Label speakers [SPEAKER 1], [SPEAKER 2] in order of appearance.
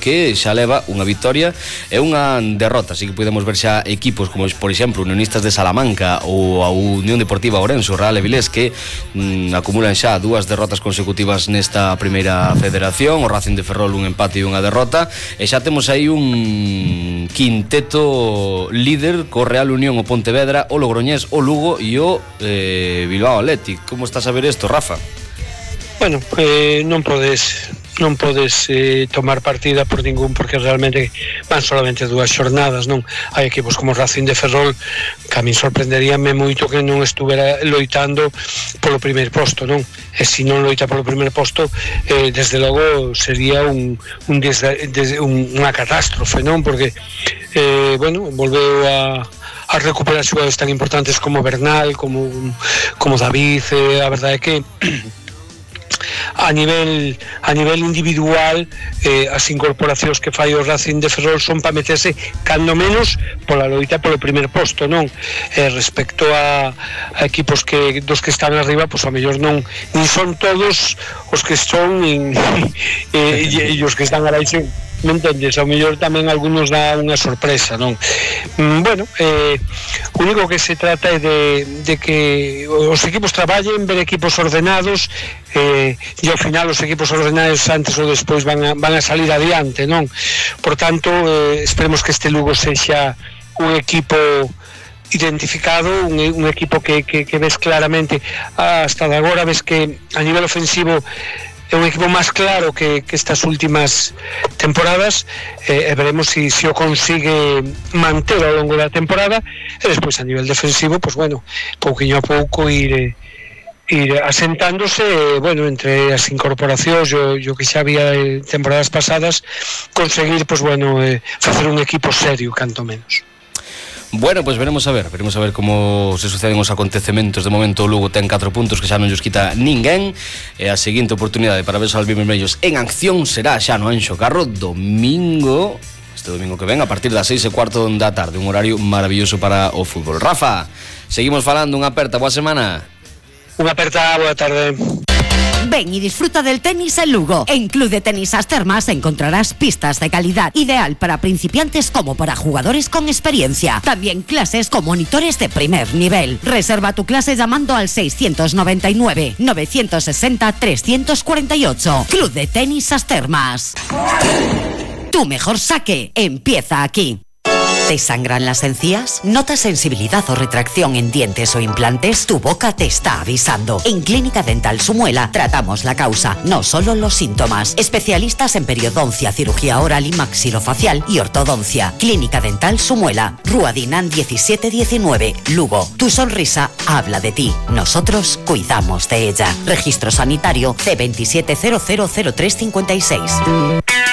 [SPEAKER 1] que xa leva unha victoria e unha derrota, así que podemos ver xa equipos como, por exemplo, Unionistas de Salamanca ou a Unión Deportiva Ourense, o Real Avilés, que acumulan xa 2 derrotas consecutivas nesta primeira federación, o Racing de Ferrol un empate e unha derrota, e xa temos aí un quinteto líder co Real Unión, o Pontevedra, o Logroñés, o Lugo e o Bilbao Athletic. Como estás a ver isto, Rafa?
[SPEAKER 2] Bueno, non podes tomar partida por ningún, porque realmente van solamente 2 xornadas, non? Hai equipos como Racing de Ferrol que a min sorprenderíame moito que non estuvera loitando polo primeiro posto, non? E se non loita polo primeiro posto, desde logo sería unha catástrofe, non? Porque volveu a recuperar xogadores tan importantes como Bernal, como David. A verdade é que a nivel individual, as incorporacións que fai o Racing de Ferrol son para meterse cando menos pola loita polo primer posto, non? Respecto a equipos dos que están arriba, pois a mellor non son todos os que son e os que están abaixo, me entendes? Ao mellor tamén algunos dá unha sorpresa, non? O único que se trata é de que os equipos traballen, ver equipos ordenados, e ao final os equipos ordenados antes ou despois van a salir adiante, non? Por tanto, esperemos que este Lugo sexa un equipo identificado, un equipo que ves claramente, hasta de agora ves que a nivel ofensivo é un equipo máis claro que estas últimas temporadas, e veremos se o consigue manter ao longo da temporada, e despois a nivel defensivo, pois pouquiño a pouco ir asentándose, entre as incorporacións o que xa había de temporadas pasadas, conseguir facer un equipo serio, canto menos.
[SPEAKER 1] Bueno, pois veremos a ver como se suceden os acontecementos. De momento o Lugo ten 4 puntos que xa non lles quita ninguén, e a seguinte oportunidade para ver os albivermellos en acción será xa no Anxo Carro este domingo que ven a partir das 6:15 da tarde, un horario maravilloso para o fútbol. Rafa, seguimos falando, unha aperta, boa semana.
[SPEAKER 2] Unha aperta, boa tarde.
[SPEAKER 3] Ven y disfruta del tenis en Lugo. En Club de Tenis As Termas encontrarás pistas de calidad, ideal para principiantes como para jugadores con experiencia. También clases con monitores de primer nivel. Reserva tu clase llamando al 699 960 348. Club de Tenis As Termas. Tu mejor saque empieza aquí. ¿Te sangran las encías? ¿Notas sensibilidad o retracción en dientes o implantes? Tu boca te está avisando. En Clínica Dental Sumuela tratamos la causa, no solo los síntomas. Especialistas en periodoncia, cirugía oral y maxilofacial y ortodoncia. Clínica Dental Sumuela, Rúa Dinan 1719, Lugo. Tu sonrisa habla de ti. Nosotros cuidamos de ella. Registro sanitario C27000356.